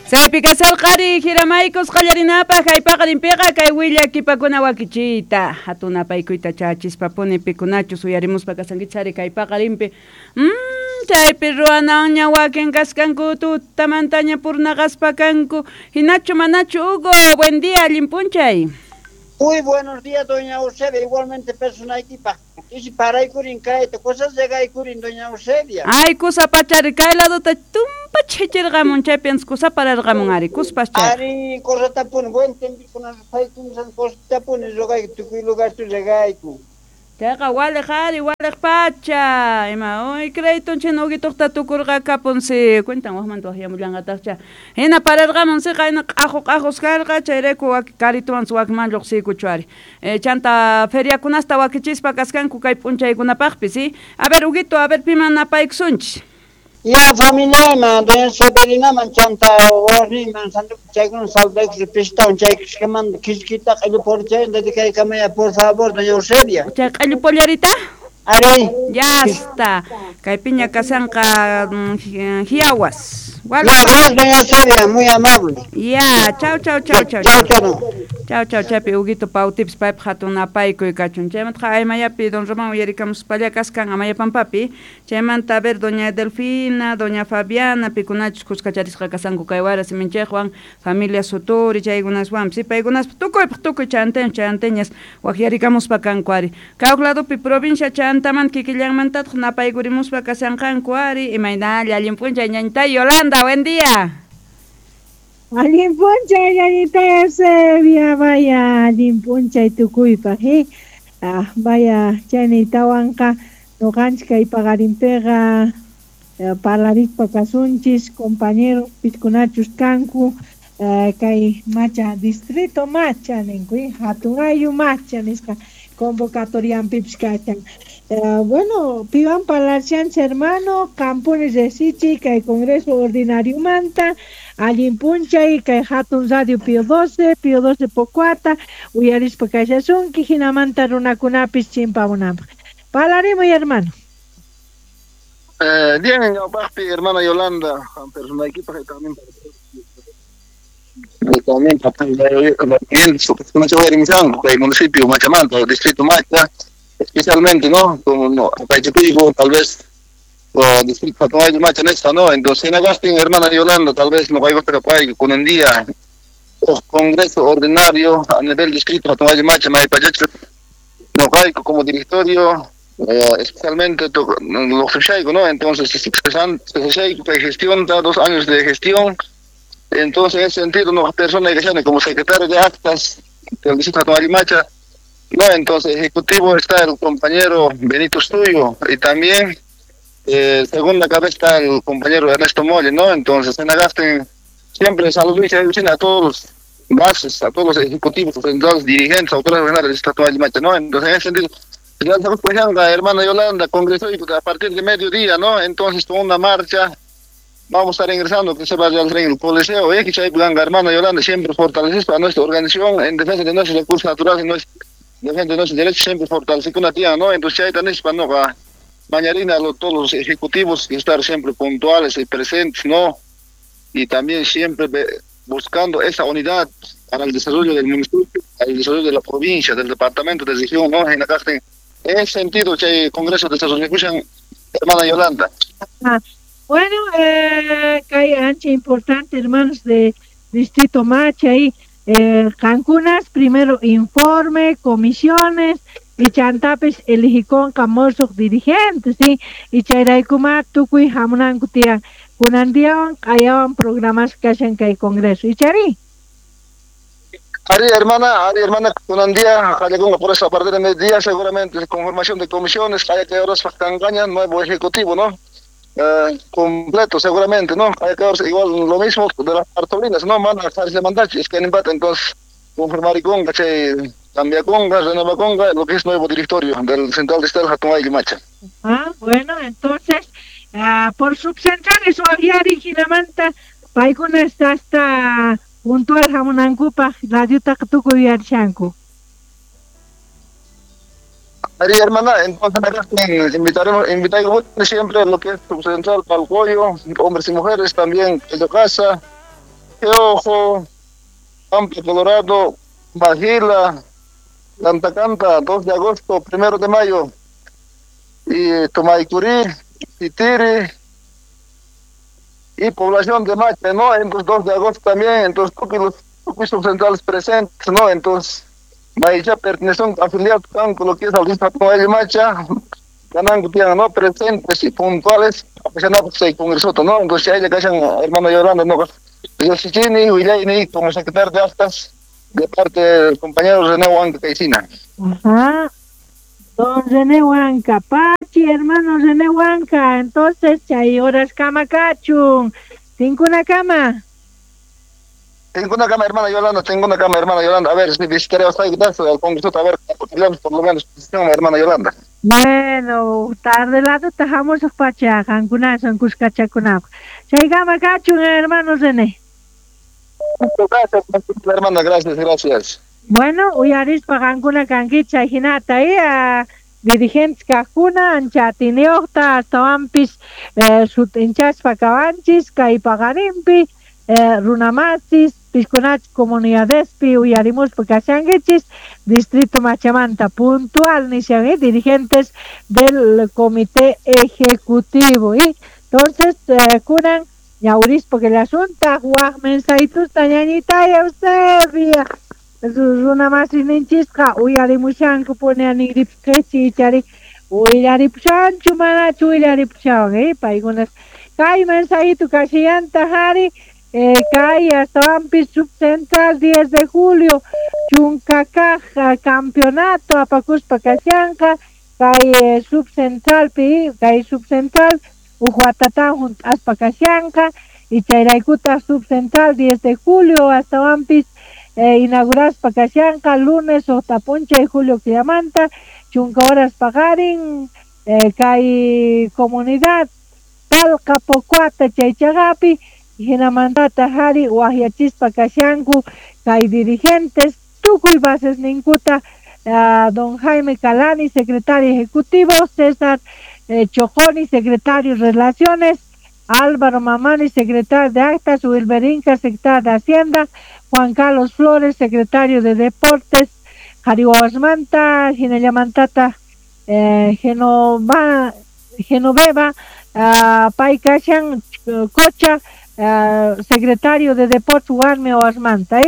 Chaypi kasarqari hiramaykus qallarinapaq kay paqarinpiqa kay willakipakuna wakichiyta hatun apaykuyta chachispapuni pikunachus uyarimuspa kasankichari kay paqarinpi chaypi ruwananña wakin kaskanku tutamantaña purnaqaspa kanku hinachu manachu Hugo buen día allin p'unchay. Muy buenos días, doña Eusebia. Igualmente personaykipaq. Isi paraykurin kayta, cosas llegaykurin, doña Eusebia. Ay, kusa pachari kay laduta tumpa chhichirqamun chaypi kusa pararqamun ari kuspas chay. Ari, cosatapuni, buen tiempo paykunsan cosatapuni rogayku tukuy lugarchu regayku. Chayqa waliq ari waliq pacha ima uy créditonchik Huguitoqta tukurqa kapunsi cuentan waqmanta waqyamullanqataqcha hina pararqamun siqa hina q'aqu q'aqus karqa chayrayku karituwan wakman lluqsiykuchu ari chanta feriakunasta wakichispa kaskanku kay p'unchaykunapaqpi si a ver Huguito a ver piman napaykusunchis. Ya familiayman doña Severinaman chanta warmiman santo chaykuna saludaykus pistawan chaykusqamanta kiskita q'illu dedicaykamaya por favor doña Eusebia. Chay q'illu pollarita? Ari. Ya está. Kay piña kasanqa hiawas. Ya, doña Eusebia, muy amable. Ya, chau chau chau chau. Chau chau. Chau chau chaypi Huguito pautipis paypaq hatun apaykuy kachun. Chaymanta aymayapi don Román uyarikamuspalla kaskan Amayapampapi. Chaymanta a ver doña Delfina, doña Fabiana pikunachus kuskacharisqa kasanku kay wara siminchikwan familia Suturi chaykunaswanpis paykunaspa tukuypaq tukuy chanteños chanteñas waqyarikamuspa kanku ari. Kay ladopi provincia chantamanta kikillanmantataq napaykurimuspa kasanqanku ari imaynalla allin p'unchay ñañitay Yolanda, buen día. Allin p'unchay ñañita Eusebia, vaya allin p'unchay tukuypaq, ah, vaya chaynitawanqa ñuqanchik kay paqarinpiqa parlarispa kasunchis compañeros pikunachus kanku kay Macha distrito Macha ninku hatun ayllu Macha nisqa convocatorianpipis kachan. Bueno, piwan parlashanchik hermano, qampuni resichi kay Congreso Ordinario manta, allin p'unchay kay hatun radio Pío 12, Pío 12 Pocuata, uyarispa kashasunki hinamanta runakunapis chimpamunanpaq. Parlarimuy hermano. Bien, ñawpaqpi hermana Yolanda, personaykipaq también kay municipio Machamanta, distrito Macha, especialmente, ¿no? Como no, tal vez o distrito Macha nesta, ¿no? Entonces, en Agustín, hermana Yolanda, tal vez no hay con un día o congreso ordinario a nivel distrito Macha, Maypachacho, no hay como directorio, especialmente los que ¿no? Entonces, se gestión, da 2 años de gestión. Entonces, en ese sentido, una persona que como secretario de actas del distrito de Macha, no, entonces, ejecutivo está el compañero Benito Estuyo y también, segunda cabeza está el compañero Ernesto Molle, ¿no? Entonces, en Agustín, siempre saludo y a todos los bases, a todos los ejecutivos, los dirigentes, autoridades regionales del distrito de Macha, ¿no? Entonces, en ese sentido, ya estamos la hermana Yolanda, congreso a partir de mediodía, ¿no? Entonces, con una marcha, vamos a estar ingresando, que se va a realizar en el Coliseo, ¿eh? Que hermana Yolanda siempre fortalece a nuestra organización en defensa de nuestros recursos naturales, en defensa de nuestros derechos, siempre fortalece una tía, ¿no? Entonces, ahí tenés para no, mañana todos los ejecutivos que estar siempre puntuales y presentes, ¿no? Y también siempre buscando esa unidad para el desarrollo del municipio, para el desarrollo de la provincia, del departamento, de la región, ¿no? En ese sentido, que hay Congreso de Desarrollo, hermana Yolanda. Ah, bueno, que ancha importante, hermanos de Distrito Macha, ahí, Cancunas, primero informe, comisiones, y chantapis eligicon camorsos dirigentes, ¿sí? Y chayraykuma tukuy hamunanku tiyan, kunandiawan qayawan programas kashan kay Congreso. ¿Y chari? Ari hermana, kunandía, por eso a partir de mediodía seguramente conformación de comisiones, hay que horas cangaña, nuevo ejecutivo, ¿no? Completo seguramente, ¿no? Hay que igual lo mismo de las cartulinas, ¿no? Manda a mandar, es que en empate, entonces conformar y conga, che, cambia conga, renova conga, lo que es nuevo directorio del Central de Estado Hatunay Macha. Ah, bueno, entonces, por subcentrales o aviari hinamanta, paykuna está hasta puntual hamunankupaq radiota tukuy yarshanku. Ari hermana, entonces invitaremos, invitaremos siempre lo que es subcentral Palcoyo, hombres y mujeres también, de casa, Ojo, Pampa Colorado, Magila, Canta, 2 de agosto, 1 de mayo, y Tomaycurí, Titiri, y población de Macha, ¿no? Entonces 2 de agosto también, entonces tuki subcentrales presentes, ¿no? Entonces, Maicha pertenecen afiliados con lo que es al distrito de Macha, ganando tienen, ¿no? Presentes y puntuales, a pesar de que se congreso, ¿no? Entonces ahí le callan, hermano Yolanda, ¿no? Yo Chichini, Huilayni, como secretario de actas, de parte del compañero René Huanca Caicina. Ajá. Don René Huanca, Pachi, hermano René Huanca, entonces, chay horas kama kachun, tinkuna kama. Tengo una cama, hermana Yolanda, tengo una cama, hermana Yolanda. A ver, si visitaré a al Congreso, a ver, por lo menos, hermana Yolanda. Bueno, tarde lado tajamos pacha, cancuna, son cuscachakunap. Chay kama kachun, hermano René. Gracias, hermana, gracias, gracias. Bueno, uyarispa qankuna kankichik hinata dirigentes kaqkuna ancha atiniuqta astawanpis sut'inchaspa kawanchis kay paqarinpi runamasis piskunach comunidadespi uyarimuspa kashankichis distrito Machamanta puntual nishan dirigentes del comité ejecutivo y entonces kunan ñawrispa que asunta waq mensahitusta ñañitaya Eusebia runa masininchikqa uyarimushanku pone anigripqechi ichari willaripushanchu manachu willaripushawan paykunas kay mensajito kashillanta jari kay astawanpis subcentral 10 de julio chunkakaj campeonato apakuspa kashanqa kay subcentralpi kay subcentral uj watatan junt'aspa kashanqa y chayraykutaj subcentral 10 de julio astawanpis inauguraspa kashanqa lunes suqta p'unchay julio killamanta chunka horas paqarin kay comunidad Palqa Pocuata chaychaqapi hinamantata jari waqyachispa kashanku kay dirigentes tukuy bases ninkuta don Jaime Calani, secretario ejecutivo, César Chojoni, secretario de Relaciones, Álvaro Mamani, secretario de Actas, Wilber Inca, secretario de Hacienda, Juan Carlos Flores, secretario de Deportes, Jariwasmanta, Hinayamantata, Genoveva, Paikashan, Cocha, secretario de Deportes, Warme Oasmanta,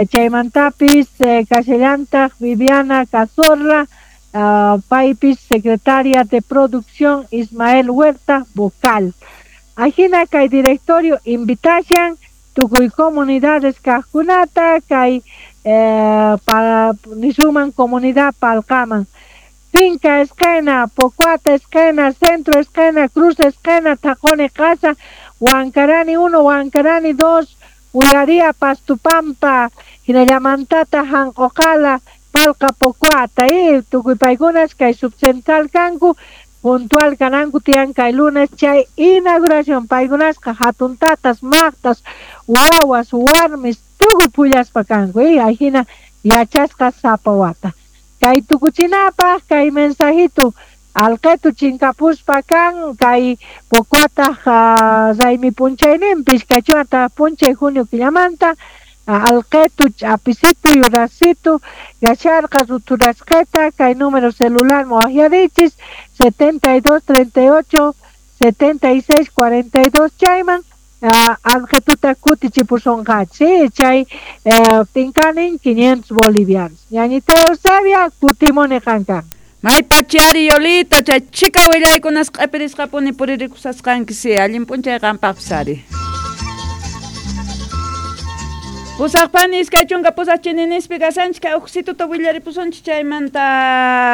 Chaymantapis, Casellanta, Viviana Cazorla, Paipis, secretaria de Producción, Ismael Huerta, vocal. Ajina kay directorio invitashan tukuy comunidades kaqkunata kay nisuman comunidad Palqaman Finca esquina, Pocuata esquina, Centro esquina, Cruz esquina, Tacone Casa, Huancarani 1, Huancarani 2, Uyaría, Pastupampa, Hinayamantata, Janqocala, Palqa Pocuata, tukuy paykunas kay subcentral kanku puntual kananku tiyan kay lunes chay inauguración paykunasqa hatun tatas maqtas wawas warmis tukuy pullaspa kanku ajina yachasqa sapa wata kay tukuchinapaq kay mensajito alqetu chinkapuspa kan kay Pocuataq raymi p'unchayninpi iskay p'unchay junio killamanta alqetu ch'apisitu yurasitu yacharqa ruturasqeta kay número celular waqyarichis 72 38 76 42 chayman alqetuta kutichipusonqachis chay tinkanin 500 bolivianos ñañita Eusebia kutimuni qankan. May pachari Yolita chay chika willaykunas q'ipirisqapuni puririkusasqanki allin p'unchay qampaqpis ari. Pusaqpani iskay chunka pusaq chininispi kasanchik kay uqsituta willaripusunchik chaymanta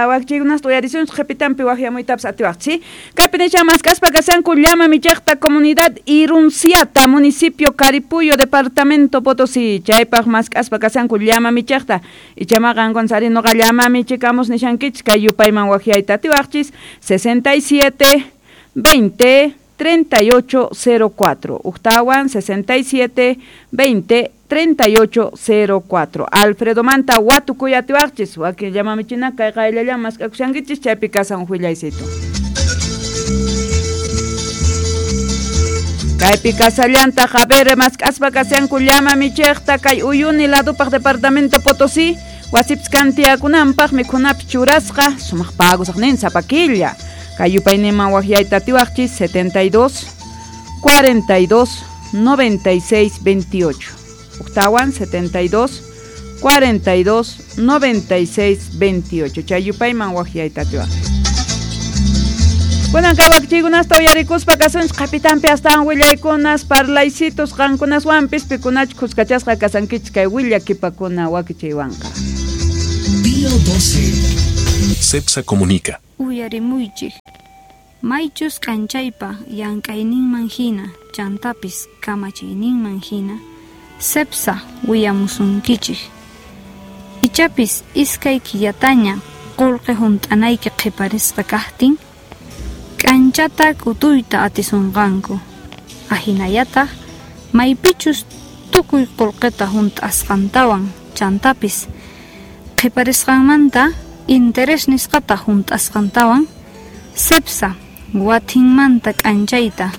wakchiykunasta uyarisunchik qhipitanpi waqyamuytapas atiwaqchik. Kaypi nishan maskaspa kasanku llama michiqta comunidad Irunciata municipio Caripuyo departamento Potosí chaypaq maskaspa kasanku llama michiqta ichama qankuna sari nuqa llama michikamus nishankichik kay yupayman waqyayta atiwaqchis 67 20 3804 Uqtawan 67 20 3804 Alfredo Manta watukuy atiwaqchis wakin llamamichina kay qayllallaman mask'akushankichis chaypi kasan willaysitu. Kaypi kasallantaq, a ver, mask'aspa kashanku llama michiqta kay Uyuni ladupaq departamento Potosí, wasipis kantiyakunanpaq mikhunapi churasqa, sumaq pagusaqnin sapa killa. Kay yupayninman waqyayta atiwaqchis 72 42 96 28. Uktawan 72 42 96 28. Chay yupayman waqyayta atiwaqchis. Kunan kay wakichiykunasta uyarikuspa kasunchik qapitanpi astawan willaykunas parlaycitos qankunaswanpis pikunachu khuskachasqa kasankichik kay willakipakuna wakichiywanqa. Día 12. Cepsa comunica. Uyarimuychik. Maychus k'anchaypa llank'ayninman hina, chantapis kamachiyninman hina, Cepsa willamusunkichik. Ichapis iskay killataña qullqi hunt'anayki qhiparisqa kaqtin, k'anchata k'utuyta atisunqanku. Ahinallataq maypichus tukuy qullqita hunt'asqantawan chantapis qhiparisqanmanta interés nisqata hunt'asqantawan Cepsa watinmanta k'anchayta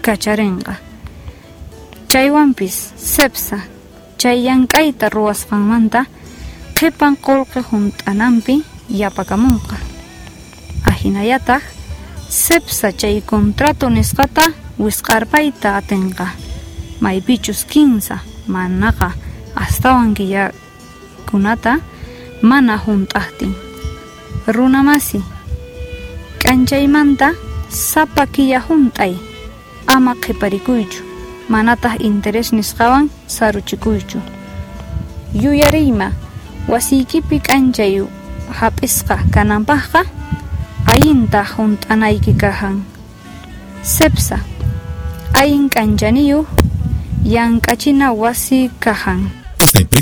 kacharinqa. Chaywanpis Cepsa chay llank'ayta ruwasqanmanta qhipan qullqi hunt'ananpi yapakamunqa. Ahinallataq Cepsa chay contrato nisqata wisq'arpayta atinqa. Maypichus 15 manaqa astawan killakunata mana hunt'aqtin. Runamasi k'anchaymanta sapa killa hunt'ay, ama qhiparikuychu, manataq interés nisqawan saruchikuychu. Yuyariyma wasiykipi k'anchay hap'isqa kananpaqqa allinta hunt'anayki kajan. Cepsa allin k'anchaniyuq llank'achina wasi kajan. Esta empresa